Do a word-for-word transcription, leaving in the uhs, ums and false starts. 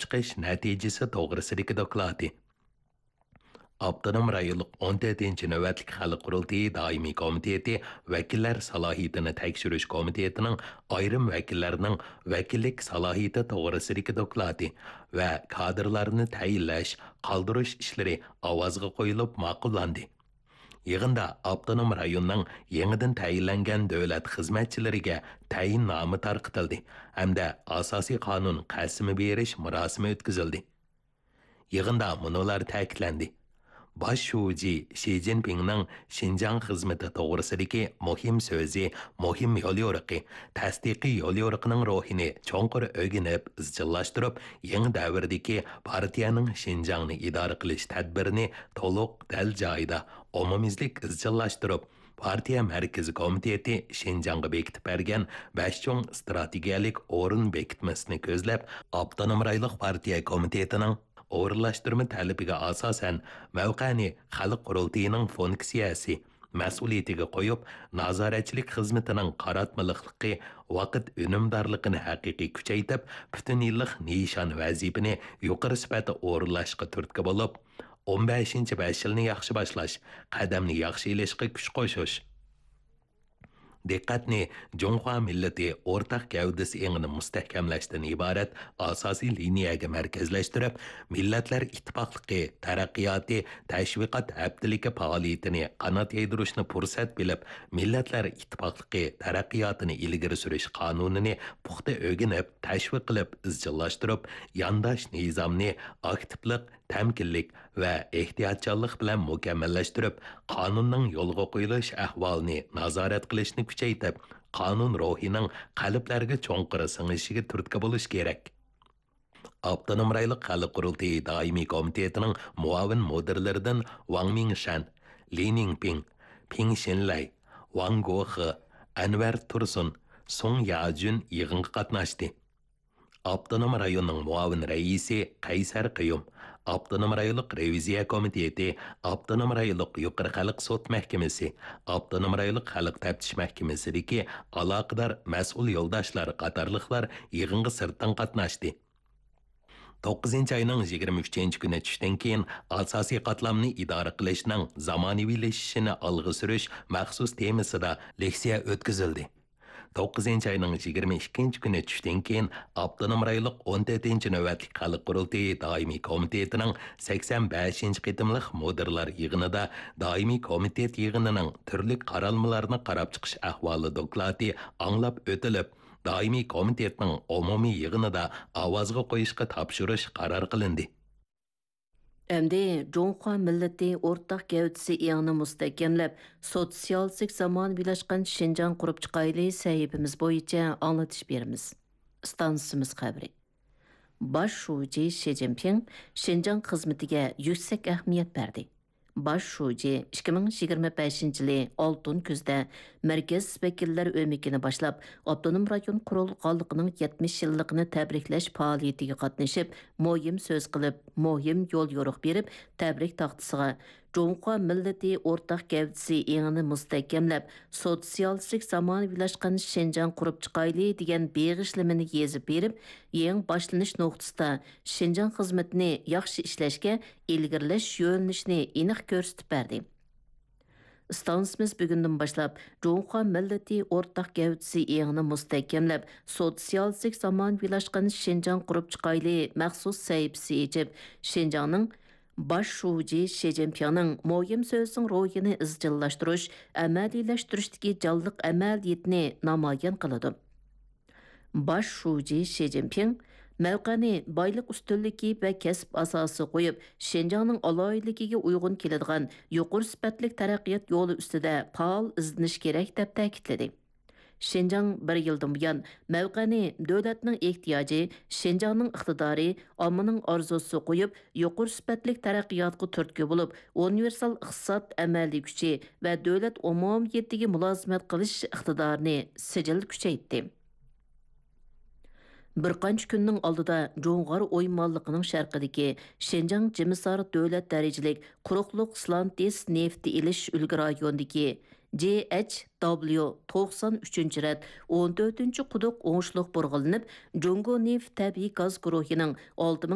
چىقىش نەتىجىسى توغرىسىدىكى دوكلاتى. ئاپتونوم رايونلۇق ئون تۆتىنچى نۆۋەتلىك خەلق قۇرۇلتىيى دائىمىي كومىتېتى ۋەكىللەر سالاھىيىتىنى تەكشۈرۈش كومىتېتىنىڭ ئايرىم ۋەكىللەرنىڭ ۋەكىللىك سالاھىيىتى توغرىسىدىكى دوكلاتى ۋە كادىرلارنى تەيىنلەش، قالدۇرۇش ئىشلىرى ئاۋازغا قويۇلۇپ ماقۇللاندى. يىغىندا ئاپتونوم رايوننىڭ يېڭىدىن تەيىنلەنگەن دۆلەت خىزمەتچىلىرىگە تەيىننامە تارقىتىلدى ھەمدە ئاساسىي قانۇن قەسىمى بېرىش مۇراسىمى ئۆتكۈزۈلدى. يىغىندا مۇنۇلار تەكىتلەندى: باش شۇجى شى جىنپىڭنىڭ شىنجاڭ خىزمىتى توغرىسىدىكى مۇھىم سۆزى، مۇھىم يوليورۇقى، تەستىقىي يوليورۇقىنىڭ روھىنى چوڭقۇر ئۆگىنىپ ئىزچىللاشتۇرۇپ، يېڭى دەۋردىكى پارتىيەنىڭ شىنجاڭنى ئىدارە قىلىش تەدبىرىنى تولۇق، دەل جايىدا، ئومۇميۈزلۈك ئىزچىللاشتۇرۇپ، پارتىيە مەركىزىي كومىتېتى شىنجاڭغا بېكىتىپ بەرگەن بەش چوڭ ئىستراتېگىيەلىك ئورۇن بېكىتمىسىنى كۆزلەپ، ئاپتونوم رايونلۇق پارتىيە كومىتېتىنىڭ ئورۇنلاشتۇرما تەلىپىگە ئاساسەن، مەۋقەنى خەلق قۇرۇلتىيىنىڭ فۇنكسىيەسى، مەسئۇلىيىتىگە قويۇپ، نازارەتچىلىك خىزمىتىنىڭ قاراتمىلىقلىقى، ۋاقىت ئۈنۈمدارلىقىنى ھەقىقىي كۈچەيتىپ، پۈتۈن يىللىق نىشان ۋەزىپىنى يۇقىرى سۈپەتتە ئورۇنلاشقا تۈرتكە بولۇپ، ئون بەشىنچى بەش يىلنى ياخشى باشلاش، قەدەمنى ياخشى ئېلىشقا كۈچ قوشۇش. دىققەتنى جۇڭخۇا مىللىتى ئورتاق گەۋدىسى ئېڭىنى مۇستەھكەملەشتىن ئىبارەت ئاساسىي لىنىيەگە مەركەزلەشتۈرۈپ، مىللەتلەر ئىتتىپاقلىقى تەرەققىياتى تەشۋىقات ھەپتىلىكى پائالىيىتىنى قانات يايدۇرۇشنى پۇرسەت بىلىپ، مىللەتلەر ئىتتىپاقلىقى تەرەققىياتىنى ئىلگىرى سۈرۈش قانۇنىنى پۇختا ئۆگىنىپ، تەشۋىق قىلىپ ئىزچىللاشتۇرۇپ، يانداش نىزامنى ئاكتىپلىق، تەمكىنلىك ۋە ئېھتىياتچانلىق بىلەن مۇكەممەللەشتۈرۈپ، قانۇننىڭ يولغا قويۇلۇش ئەھۋالىنى نازارەت قىلىشنى كۈچەيتىپ، قانۇن روھىنىڭ قەلبلەرگە چوڭقۇر سىڭىشىگە تۈرتكە بولۇش كېرەك. ئاپتونوم رايونلۇق خەلق قۇرۇلتىيى دائىمىي كومىتېتىنىڭ مۇئاۋىن مۇدىرلىرىدىن ۋاڭ مىڭشەن، لى نىڭپىڭ، پىڭ شىنلەي، ۋاڭ گوخې، ئەنۋەر تۇرسۇن، سۇڭ ياجۈن يىغىنغا قاتناشتى. ئاپتونوم رايوننىڭ مۇئاۋىن رەئىسى قەيسەر قېيۇم، ئاپتونوم رايونلۇق رېۋىزىيە كومىتېتى، ئاپتونوم رايونلۇق يۇقىرى خەلق سوت مەھكىمىسى، ئاپتونوم رايونلۇق خەلق تەپتىش مەھكىمىسىدىكى ئالاقىدار مەسئۇل يولداشلار قاتارلىقلار يىغىنغا سىرتتىن قاتناشتى. توققۇزىنچى ئاينىڭ يىگىرمە ئۈچىنچى كۈنى چۈشتىن كېيىن ئاساسىي قاتلامنى ئىدارە قىلىشنىڭ زامانىۋىلىشىشىنى ئالغا سۈرۈش مەخسۇس تېمىسىدا لېكسىيە ئۆتكۈزۈلدى. توققۇزىنچى ئاينىڭ يىگىرمە ئىككىنچى كۈنى چۈشتىن كېيىن ئاپتونوم رايونلۇق ئون تۆتىنچى نۆۋەتلىك خەلق قۇرۇلتىيى دائىمىي كومىتېتىنىڭ سەكسەن بەشىنچى قېتىملىق مۇدىرلار يىغىنىدا دائىمىي كومىتېت يىغىنىنىڭ تۈرلۈك قارالمىلارنى قاراپ چىقىش ئەھۋالى دوكلاتى ئاڭلاپ ئۆتۈلۈپ، دائىمىي كومىتېتنىڭ ئومۇمىي يىغىنىدا ئاۋازغا قويۇشقا تاپشۇرۇش قارار قىلىندى. ئەمدى جۇڭخۇا مىللىتى ئورتاق گەۋدىسى ئېڭىنى مۇستەھكەملەپ، سوتسىيالىستىك زامانىۋىلاشقان شىنجاڭ قۇرۇپ چىقايلى سەھىپىمىز بويىچە ئاڭلىتىش بېرىمىز. ئىستانسىمىز خەۋىرى. باش شۇجى شى جىنپىڭ شىنجاڭ خىزمىتىگە يۈكسەك ئەھمىيەت بەردى. باش شۇجى ئىككى مىڭ يىگىرمە بەشىنچى يىلى ئالتۇن كۈزدە مەركەز ۋەكىللەر ئۆمىكىنى باشلاپ، ئاپتونوم رايون قۇرۇلغانلىقىنىڭ يەتمىش يىللىقىنى تەبرىكلەش پائالىيىتىگە قاتنىشىپ، مۇھىم سۆز قىلىپ، مۇھىم يول يورۇق بېرىپ، تەبرىك تاختىسىغا جۇڭخۇا مىللىتى ئورتاق گەۋدىسى ئېڭىنى مۇستەھكەملەپ، سوتسىيالىستىك زامانىۋىلاشقان شىنجاڭ قۇرۇپ چىقايلى دېگەن بېغىشلىمىنى يېزىپ بېرىپ، يېڭى باشلىنىش نۇقتىسىدا شىنجاڭ خىزمىتىنى ياخشى ئىشلەشكە ئىلگىرىلەش يۆنىلىشىنى ئېنىق كۆرسىتىپ بەردى. ئىستانسىمىز بۈگۈندىن باشلاپ جۇڭخۇا مىللىتى ئورتاق گەۋدىسى ئېڭىنى مۇستەھكەملەپ، سوتسىيالىستىك زامانىۋىلاشقان شىنجاڭ قۇرۇپ چىقايلى مەخسۇس سەھىپىسى ئېچىپ، شىنجاڭنىڭ باش شۇجى شى جىنپىڭنىڭ مۇھىم سۆزىنىڭ روھىنى ئىزچىللاشتۇرۇش، ئەمەلىيلەشتۈرۈشتىكى جانلىق ئەمەلىيىتىنى نامايان قىلىدۇ. باش شۇجى شى جىنپىڭ مەۋقەنى بايلىق ئۈستۈنلۈكى ۋە كەسىپ ئاساسىغا قويۇپ، شىنجاڭنىڭ ئالاھىدىلىكىگە ئۇيغۇن كېلىدىغان يۇقىرى سۈپەتلىك تەرەققىيات يولى ئۈستىدە پائال ئىزدىنىش كېرەك، دەپ تەكىتلىدى. شىنجاڭ بىر يىلدىن بۇيان مەۋقەنى دۆلەتنىڭ ئېھتىياجى، شىنجاڭنىڭ ئىقتىدارى، ئاممىنىڭ ئارزۇسىغا قويۇپ، يۇقىرى سۈپەتلىك تەرەققىياتقا تۈرتكە بولۇپ، ئۇنىۋېرسال ئىقتىساد ئەمەلىي كۈچى ۋە دۆلەت ئومۇمىيىتىگە مۇلازىمەت قىلىش ئىقتىدارىنى سىجىل كۈچەيتتى. بىر قانچە كۈننىڭ ئالدىدا جۇڭغار ئويمانلىقىنىڭ شەرقىدىكى شىنجاڭ جىمىسار دۆلەت دەرىجىلىك قۇرۇقلۇق سلانتىس نېفىت ئېلىش ئۈلگە رايونىدىكى جي ئېچ دابليۇ توقسان ئۈچىنچى رەت ئون تۆتىنچى قۇدۇق ئوڭۇشلۇق بۇرغىلىنىپ، جۇڭگو نېفىت تەبىئىي گاز گۇرۇھىنىڭ ئالتە